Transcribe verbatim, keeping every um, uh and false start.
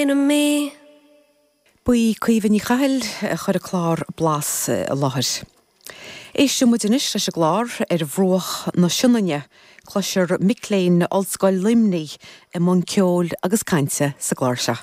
Enemy. Ba í Caoimhe Ní Chathail a chuir an clár Blas i láthair. Éistfidh muid anois leis an gclár ar bhruach na Sionainne, cloisfear mic léinn Ollscoil Luimnigh i mbun ceoil agus cainte sa gclár seo.